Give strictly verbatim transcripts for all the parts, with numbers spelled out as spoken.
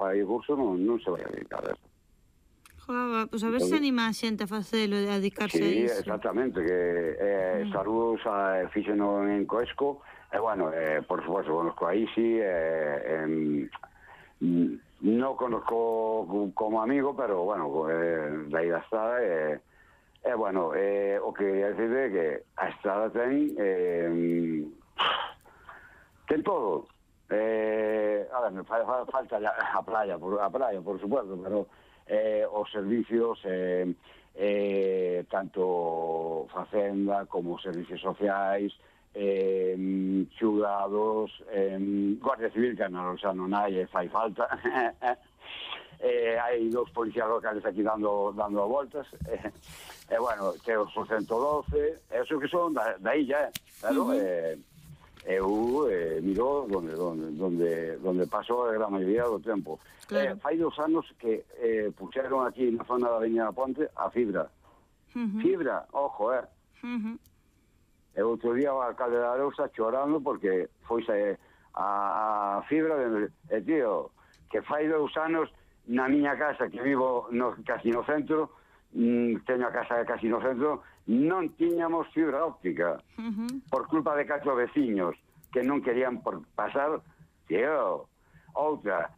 fai curso non, non se vai a dedicar a eso. Joder, pois a ver se anima a xente a facelo, a dedicarse a Sí, iso. exactamente, que eh, mm. saludos a fíxeno en Coesco, e, bueno, eh, por supuesto, conozco a Isi, eh, eh, non conozco como amigo, pero, bueno, eh, da aí da estrada, e, eh, eh, bueno, eh, o que quería decir é que a estrada ten, eh, ten todo. Eh, a ver, me fa, fa, falta a playa, por, a playa, por supuesto, pero eh, os servicios, eh, eh, tanto facenda como servicios sociais, eh, xudados, eh, Guardia Civil, que non, xa non hai, fai falta. eh, hai dous policías locales aquí dando dando voltas, e eh, eh, bueno, teos o ciento doce, eso que son da, da illa, eh, claro, uh -huh. eh, eu eh, miro donde, donde, donde, donde pasou a gran maioría do tempo. Claro. Eh, fai dos anos que eh, puxeron aquí na zona da Avenida Ponte a fibra. Uh -huh. Fibra, ojo, eh. Uh -huh. E outro día o alcalde da Arousa chorando porque foise a, a fibra de, e tío, que fai dos anos na miña casa que vivo no, casi no centro, mm, teño a casa casi no centro, non tiñamos fibra óptica uh -huh. por culpa de catro veciños que non querían por pasar. Tío, outra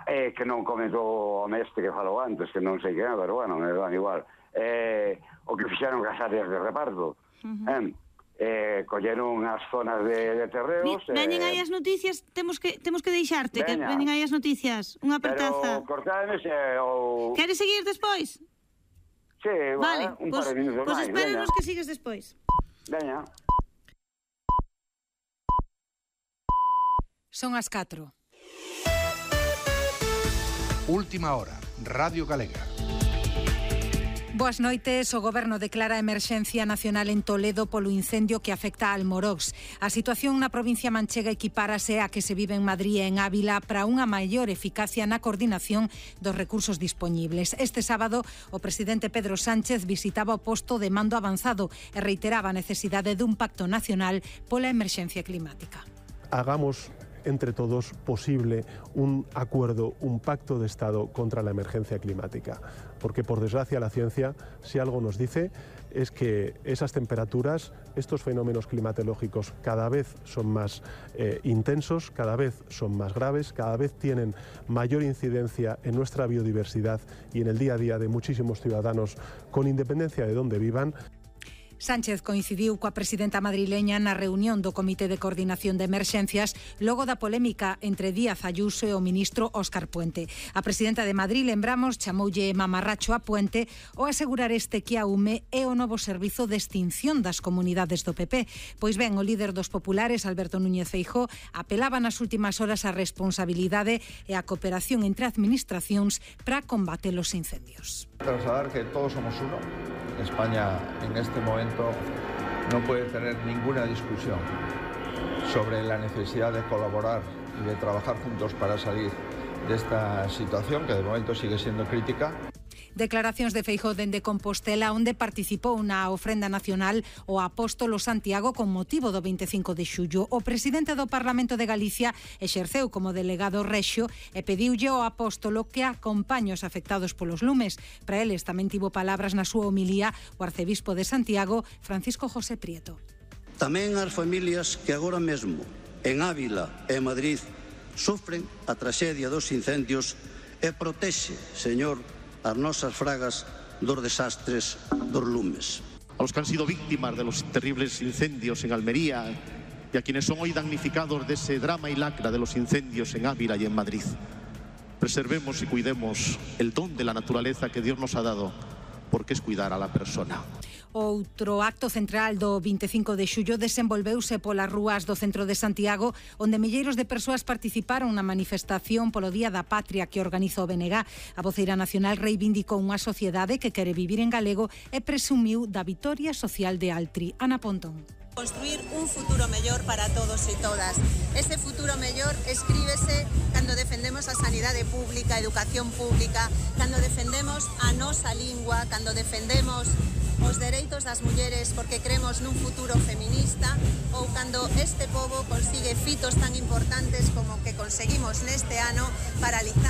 eh, que non comentou o mestre que falou antes, que non sei que, pero bueno, me dan igual, eh, o que fixeron as áreas de reparto, uh -huh. eh, eh, colleron as zonas de, de terreos. Veñen eh, aí as noticias, temos que temos que deixarte, veña. Que veñen aí as noticias, unha apertaza. Pero cortades eh, ou... Queres seguir despois? Sí, vale, un pues, par de minutos pues máis. Pues espérenos que sigues despois. Veña. Son as catro. Última hora, Radio Galega. Boas noites. O Goberno declara emerxencia nacional en Toledo polo incendio que afecta a Almorox. A situación na provincia manchega equipárase a que se vive en Madrid e en Ávila para unha maior eficacia na coordinación dos recursos dispoñibles. Este sábado, o presidente Pedro Sánchez visitaba o posto de mando avanzado e reiteraba a necesidade dun pacto nacional pola emerxencia climática. Hagamos entre todos posible un acuerdo, un pacto de Estado contra la emergencia climática. Porque, por desgracia, la ciencia, si algo nos dice, es que esas temperaturas, estos fenómenos climatológicos cada vez son más eh, intensos, cada vez son más graves, cada vez tienen mayor incidencia en nuestra biodiversidad y en el día a día de muchísimos ciudadanos, con independencia de dónde vivan. Sánchez coincidiu coa presidenta madrileña na reunión do Comité de Coordinación de Emerxencias logo da polémica entre Díaz Ayuso e o ministro Óscar Puente. A presidenta de Madrid, lembramos, chamoulle mamarracho a Puente ao asegurar este que a U M E é o novo servizo de extinción das comunidades do P P. Pois ben, o líder dos populares, Alberto Núñez Feijóo, apelaba nas últimas horas a responsabilidade e a cooperación entre administracións para combater os incendios. Trasladar que todos somos uno. España en este momento no puede tener ninguna discusión sobre la necesidad de colaborar y de trabajar juntos para salir de esta situación que de momento sigue siendo crítica. Declaracións de Feijóo dende Compostela, onde participou na ofrenda nacional o apóstolo Santiago con motivo do veinticinco de xullo. O presidente do Parlamento de Galicia exerceu como delegado rexio e pediulle ao apóstolo que acompañe os afectados polos lumes. Para eles tamén tivo palabras na súa homilía o arcebispo de Santiago, Francisco José Prieto. Tamén as familias que agora mesmo en Ávila e Madrid sofren a traxedia dos incendios e protexe, Señor, as nosas fragas dos desastres dos lumes. A los que han sido víctimas de los terribles incendios en Almería y a quienes son hoy damnificados de ese drama y lacra de los incendios en Ávila y en Madrid. Preservemos y cuidemos el don de la naturaleza que Dios nos ha dado, porque es cuidar a la persona. Outro acto central do veinticinco de xullo desenvolveuse polas rúas do centro de Santiago, onde milleiros de persoas participaron na manifestación polo Día da Patria que organiza o B N G. A voceira nacional reivindicou unha sociedade que quere vivir en galego e presumiu da vitoria social de Altri. Ana Pontón. Construir un futuro mellor para todos e todas. Ese futuro mellor escríbese cando defendemos a sanidade pública, a educación pública, cando defendemos a nosa lingua, cando defendemos os dereitos das mulleres porque creemos nun futuro feminista, ou cando este pobo consigue fitos tan importantes como que conseguimos neste ano paralizando